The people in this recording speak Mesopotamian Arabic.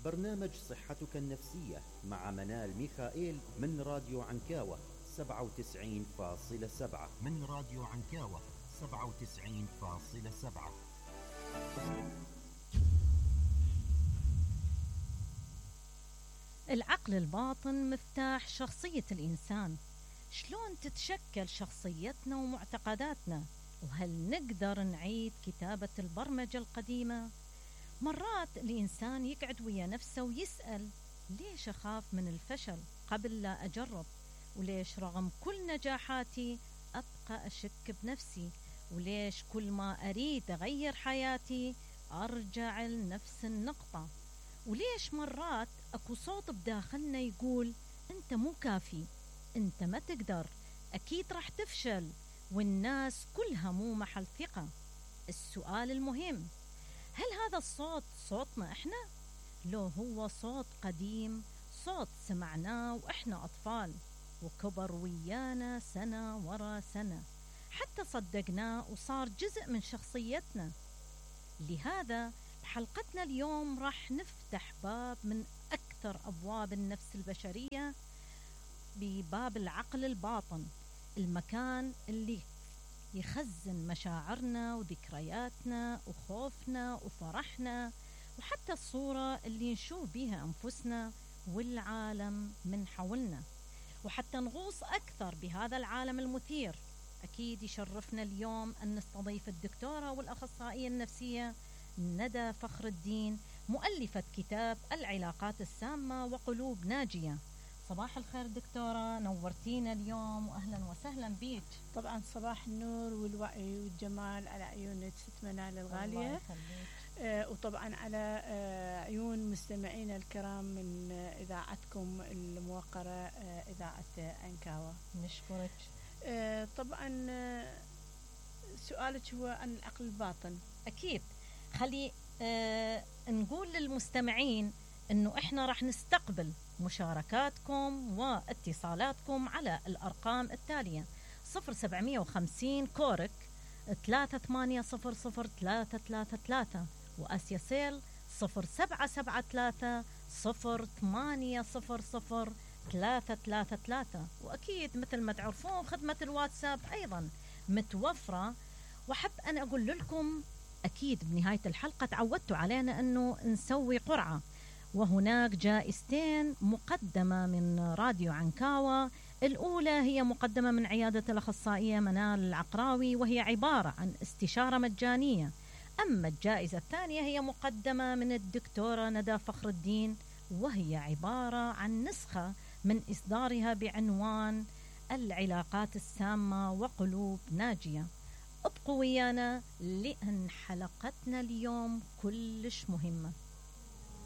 برنامج صحتك النفسية مع منال ميخائيل من راديو عنكاوة 97.7. من راديو عنكاوة 97.7. العقل الباطن مفتاح شخصية الإنسان. شلون تتشكل شخصيتنا ومعتقداتنا؟ وهل نقدر نعيد كتابة البرمجة القديمة؟ مرات الإنسان يقعد ويا نفسه ويسأل: ليش أخاف من الفشل قبل لا أجرب؟ وليش رغم كل نجاحاتي أبقى أشك بنفسي؟ وليش كل ما أريد أغير حياتي أرجع لنفس النقطة؟ وليش مرات أكو صوت بداخلنا يقول: أنت مو كافي، أنت ما تقدر، أكيد راح تفشل، والناس كلها مو محل ثقة؟ السؤال المهم: هل هذا الصوت صوتنا إحنا؟ لو هو صوت قديم، صوت سمعناه وإحنا أطفال وكبر ويانا سنة ورا سنة حتى صدقناه وصار جزء من شخصيتنا؟ لهذا بحلقتنا اليوم راح نفتح باب من أكثر أبواب النفس البشرية، بباب العقل الباطن، المكان اللي يخزن مشاعرنا وذكرياتنا وخوفنا وفرحنا، وحتى الصورة اللي نشوف بيها أنفسنا والعالم من حولنا. وحتى نغوص أكثر بهذا العالم المثير، أكيد يشرفنا اليوم أن نستضيف الدكتورة والأخصائية النفسية ندى فخر الدين، مؤلفة كتاب العلاقات السامة وقلوب ناجية. صباح الخير دكتورة، نورتينا اليوم وأهلا وسهلا بيك. طبعا صباح النور والوعي والجمال على عيون ست منال الغالية، وطبعا على عيون مستمعينا الكرام من إذاعتكم الموقرة إذاعة عنكاوة. نشكرك. طبعا سؤالك هو عن العقل الباطن. أكيد. خلي نقول للمستمعين أنه إحنا راح نستقبل مشاركاتكم واتصالاتكم على الأرقام التالية: 0750 كورك 3800 وآسيا سيل 0773 0800 وأكيد مثل ما تعرفون خدمة الواتساب أيضا متوفرة. وحب أنا أقول لكم أكيد بنهاية الحلقة تعودتوا علينا أنه نسوي قرعة، وهناك جائزتين مقدمة من راديو عنكاوة. الأولى هي مقدمة من عيادة الأخصائية منال العقراوي، وهي عبارة عن استشارة مجانية. أما الجائزة الثانية هي مقدمة من الدكتورة ندى فخر الدين، وهي عبارة عن نسخة من إصدارها بعنوان العلاقات السامة وقلوب ناجية. ابقوا ويانا لأن حلقتنا اليوم كلش مهمة.